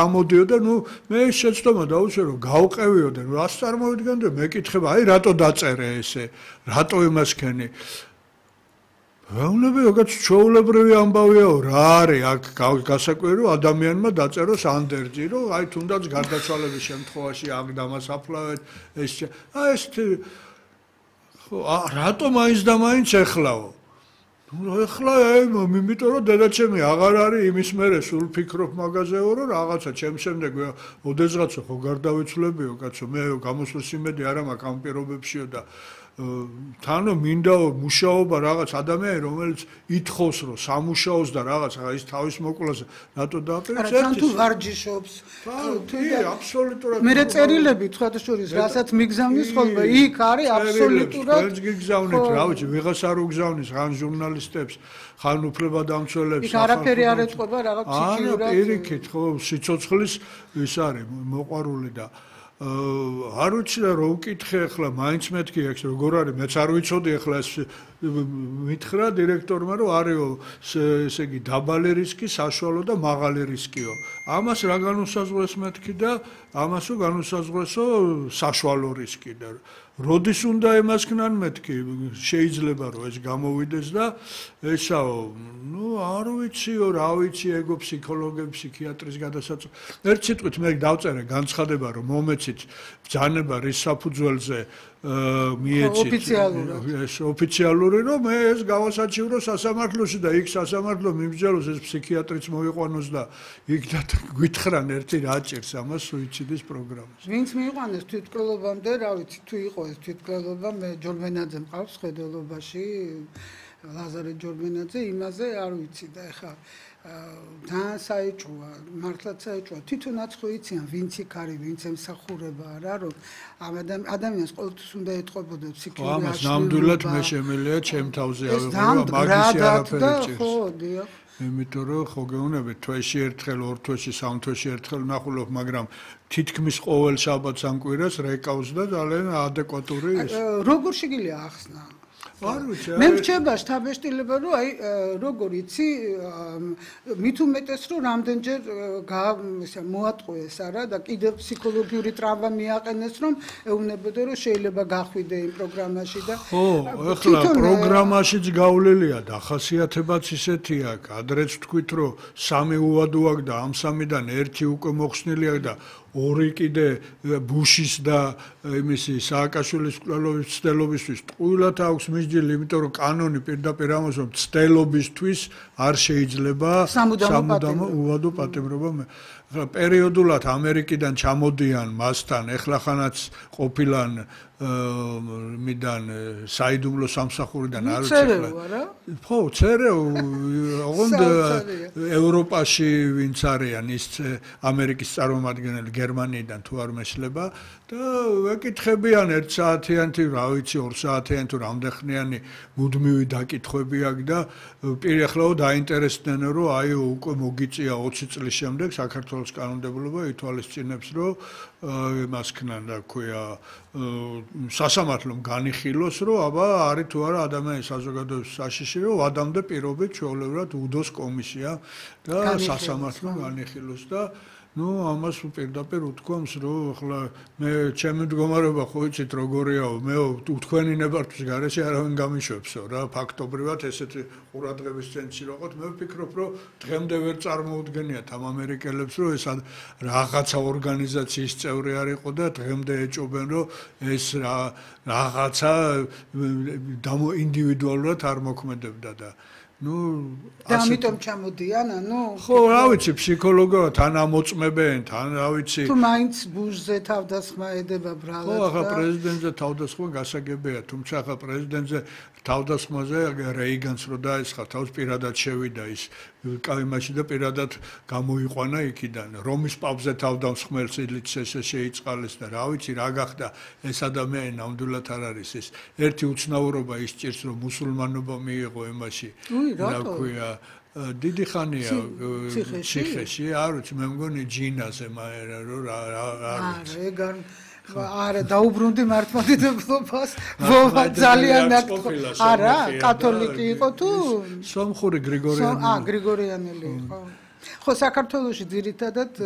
გამოდიოდა, მე შეცდომა დაუშვე რომ გავყევიოდე, რას წარმოვიდგენდი, მეკითხება, აი რატო დაწერე ესე, რატო იმასქენი. რაუნები როგორც ჩვეულებრივი ამბავიაო, რა არის აქ გასაკვირი რომ ადამიანმა დაწეროს ანდერძი, რომ აი თუნდაც გარდაცვალების შემთხვევაში აქ დამასაფლავეთ ეს ეს რატო მაინც და მაინც ეხლაო? ეხლა იმიტომ რომ დედაჩემი აღარ არის იმის მერე სულ ფიქრობ მაგაზეო რომ რაღაცა ჩემ შემდეგ ოდესღაცა ხო გარდავიცვლებიო კაცო მე გამოსვლის იმედი არ მაქვს ამ პირობებშიო და თანო მინდა მუშაობა რაღაც ადამიანი რომელიც ითხოვს რომ სამუშაოს და რაღაც ის თავის მოკვლას რატო დააპირებს ერთ თუ ვარჯიშობს თუ აბსოლუტურად მე წერილები ცხადშორის რასაც მიგზავნის ხოლმე იქ არის აბსოლუტურად ვერც გიგზავნით რა ვიცი ვიღას არ უგზავნის ხან ჟურნალისტებს ხან უფლებადამცველებს იქ არაფერი არ ეწყობა რაღაც ჩიჩიურად არა პირიქით ხო სიცოცხლის ის არის მოყვარული და არ ვიცი რა ვკითხე ახლა მაინც მეთქი აქვს როგორ არის მეც არ ვიცოდი ახლა ეს მითხრა დირექტორმა რომ არისო ესე იგი დაბალი რისკი საშუალო და მაღალი რისკიო ამას რა განუსაზღვრეს მეთქი და ამასო განუსაზღვრესო საშუალო რისკი და როდის უნდა ემასქნან მეთქი შეიძლება რომ ეს გამოვიდეს და ესაო ნუ არ ვიციო რა ვიცი ეგო ფსიქოლოგები ფსიქიატრის გადასაწყვეტი ერთ სიტყვით მე დავწერე განცხადება რომ მომეცით ბრძანება რის საფუძველზე მიეცით ოფიციალური რომ მე ეს გავასაჩივრო სასამართლოში და იქ სასამართლო მიმსჯელოს ეს ფსიქიატრიც მოიყვანოს და იქ და გითხრან ერთი რა ჭირს ამას სუიციდის პროგრამას ვინც მიიყვანეს თვითმკვლელობამდე რა ვიცი თუ იყო ეს თვითმკვლელობა მე ჯორბენაძე მყავს ხედველობაში ლაზარე ჯორბენაძე იმაზე არ ვიცი და ეხა თან საეჭვოა მართლაც საეჭვოა თვითონაც ხო იციან ვინც იქ არის ვინც ემსახურება არა რომ ადამიანს ყოველთვის უნდა ეთყობოდა ფსიქოლოგია ამას ნამდვილად მე შემიძლია ჩემ თავზე ავიღო მაგისი არაფერი ჭირს ხო დიახ იმიტომ რომ ხო გეუბნებით თვეში ერთხელ ორ თვეში სამ თვეში ერთხელ ნახულობ მაგრამ თითქმის ყოველ შაბათს ან კვირას რეკავს და ძალიან ადეკვატური ის როგორ შეგიძლია ახსნა მე მრჩება შთაბეჭდილება რომ აი როგორ იცი მით უმეტეს რომ რამდენჯერ მოატყუეს არა და კიდევ ფსიქოლოგიური ტრავმა მიაყენეს რომ ეუბნებოდა რომ შეიძლება გახვიდე იმ პროგრამაში და ხო ეხლა პროგრამაშიც გავლილია და ახასიათებაც ისეთი აქვს ადრეც თქვით რომ სამი უვადო აქვს და ამ სამიდან ერთი უკვე მოხსნილი აქვს და ორი კიდე ბუშის და იმისი სააკაშვილის მკვლელობის ცდელობისთვის ტყუილად აქვს მისჯილი, იმიტომ რომ კანონი პირდაპირ ამას რომ ცდელობისთვის არ შეიძლება სამუდამო უვადო პატიმრობა. ახლა პერიოდულად ამერიკიდან ჩამოდიან მასთან, ეხლა ხანაც ყოფილან მიდან საიდუმლო სამსახურიდან არ ვიცი ხო ცერეო ოღონდ ევროპაში ვინც არიან ის ამერიკის წარმომადგენელი გერმანიიდან თუ არ მეშლება და ვეკითხებიან 1 საათიანი რა ვიცი 2 საათიანი თუ რამდენხნიანი მუდმივი დაკითხვები აქვს და პირახლაო დაინტერესდნენ რომ აი უკვე მოგიწია 20 წლის შემდეგ საქართველოს კანონმდებლობა ითვალისწინებს რომ მასქნან რა ქვია სასამართლომ განიხილოს რომ აბა არის თუ არა ადამიანის საზოგადოების საშიში რომ ვადამდე პირობით ჩვეულებრივად უდოს კომისია და სასამართლომ განიხილოს და ნუ ამას პირდაპირ უთქვამს რომ ახლა მე ჩემი მდგომარეობა ხო იცით როგორიაო მე თქვენი ნებართვის გარეშე არავინ გამიშვებსო რა ფაქტობრივად ესეთი ყურადღების ცენტრში ვიყოთ მე ვფიქრობ რომ დღემდე ვერ წარმოუდგენიათ ამ ამერიკელებს რომ ეს რაღაცა ორგანიზაციის წევრი არ იყო და დღემდე ეჭობენ რომ ეს რაღაცა ინდივიდუალურად არ მოქმედებდა და ნუ ამიტომ ჩამოდიან ანუ ხო რა ვიცი ფსიქოლოგია თან ამოწმებენ თან რა ვიცი თუ მაინც ბუშზე თავდასხმა ედება ბრალად ხო ახლა პრეზიდენტზე თავდასხმა გასაგებია თუმცა ახლა პრეზიდენტზე თავდასხმაზე რეიგანს რო დაესხა თავს პირადად შევიდა ის კაიმაში და პირადად გამოიყვანა იქიდან რომის პაპზე თავდასხმელს ილიც ესე შეიწყალეს და რა ვიცი რა გახდა ეს ადამიანი ნამდვილად არ არის ეს ერთი უცნაურობა ის ჭირს რომ მუსულმანობა მიიღო იმაში რა ქვია დიდი ხანია ციხეში არ ვიცი მე მგონი ჯინაზე მაერა რომ არ ვიცი არა დაუბრუნდი მართლმადიდებლობას ვოვა ძალიან არა კათოლიკი იყო თუ სომხური გრიგორიანელი გრიგორიანელი იყო ხო საქართველოში ძირითადად